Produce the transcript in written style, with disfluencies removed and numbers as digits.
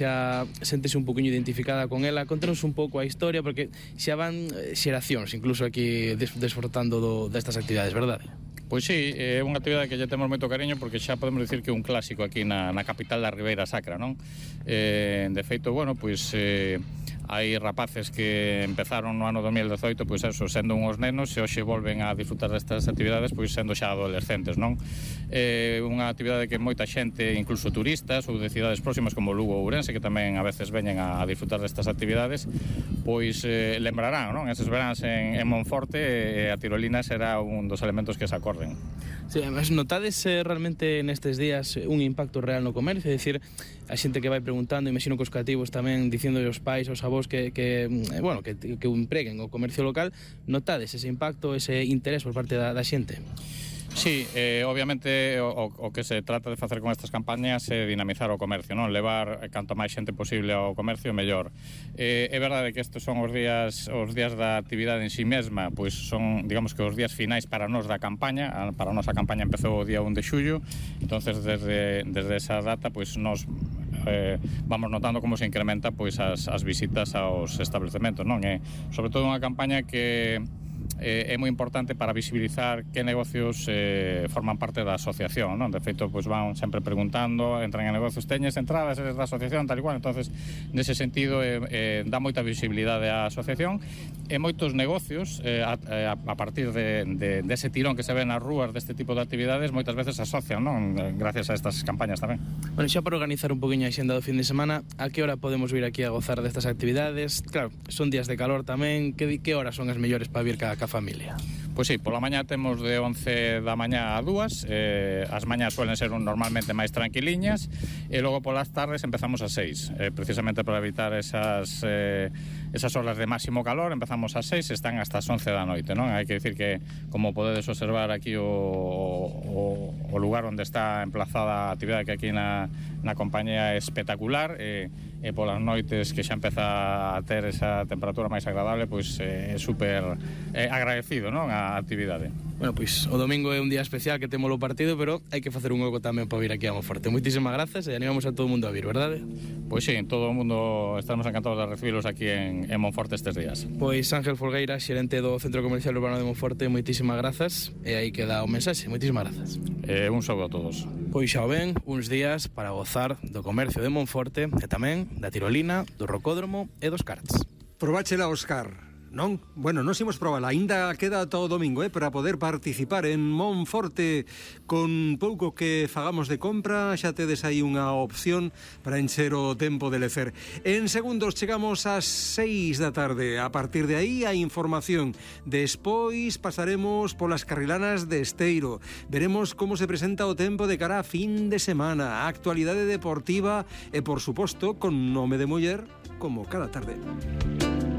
xa séntese un poquinho identificada con ela. Contanos un pouco a historia, porque xa van xeracións incluso aquí desfrutando destas actividades, verdade? Pois sí, é unha actividade que lle temos moito cariño porque xa podemos dicir que é un clásico aquí na capital da Ribeira Sacra, non? De feito, bueno, pois hai rapaces que empezaron no ano 2018, pois eso, sendo uns nenos, e hoxe volven a disfrutar destas actividades, pois sendo xa adolescentes, non? Unha actividade que moita xente, incluso turistas ou de cidades próximas como Lugo ou Ourense, que tamén a veces veñen a disfrutar destas actividades, pois lembrarán, non? Eses veráns en Monforte, a tirolina será un dos elementos que se acorden. Sí, mas notades realmente nestes días un impacto real no comercio? É dicir, a xente que vai preguntando, imagino que os cativos tamén dicindo aos pais, aos avós que empreguen o comercio local, notades ese impacto, ese interés por parte da xente? Sí, obviamente o que se trata de facer con estas campañas é dinamizar o comercio, non? Levar canto máis xente posible ao comercio, mellor. É verdade que estes son os días da actividade en si mesma, pois son, digamos que os días finais para nós da campaña. Para nós a campaña empezou o día 1 de xullo, entonces desde esa data pois nós vamos notando como se incrementa pois as visitas aos establecementos, non? É sobre todo unha campaña que é moi importante para visibilizar que negocios forman parte da asociación, non? De feito, pois van sempre preguntando, entran en negocios, teñes entradas, eres da asociación, tal e cual. Entonces, nese sentido, dá moita visibilidade á asociación, e moitos negocios, a partir dese tirón que se ve nas rúas deste tipo de actividades, moitas veces se asocian, non? Gracias a estas campañas tamén. Bueno, xa para organizar un poquinho a xenda do fin de semana, a que hora podemos vir aquí a gozar destas actividades? Claro, son días de calor tamén, que horas son as mellores para vir ca familia? Pois sí, pola mañá temos de 11 da mañá a 2, as mañás suelen ser normalmente máis tranquiliñas, e logo polas tardes empezamos a 6, precisamente para evitar esas horas de máximo calor. Empezamos a 6 e están hasta as 11 da noite, non? Hai que dicir que, como podedes observar aquí o lugar onde está emplazada a actividade, que aquí na compañía é espectacular, e polas noites que xa empeza a ter esa temperatura máis agradable, pois é super agradecido, non? A actividade. Bueno, pois o domingo é un día especial que temos o partido, pero hai que facer un hueco tamén para vir aquí a Monforte. Moitísimas grazas e animamos a todo o mundo a vir, verdade? Pois sí, todo o mundo estamos encantados de recibilos aquí en Monforte estes días. Pois Ángel Folgueira, xerente do Centro Comercial Urbano de Monforte, moitísimas grazas, e aí queda o mensaxe. Moitísimas grazas. Un saúdo a todos. Pois xa o ven, uns días para gozar do comercio de Monforte e tamén da tirolina, do rocódromo e dos karts. Probáchela, Óscar. Non? Bueno, nos imos probala, aínda queda todo o domingo, para poder participar en Monforte. Con pouco que fagamos de compra, xa tedes aí unha opción para encher o tempo de lecer. En segundos chegamos ás 6 da tarde. A partir de aí, a información. Despois pasaremos polas carrilanas de Esteiro. Veremos como se presenta o tempo de cara a fin de semana. A actualidade deportiva e, por suposto, con nome de muller, como cada tarde.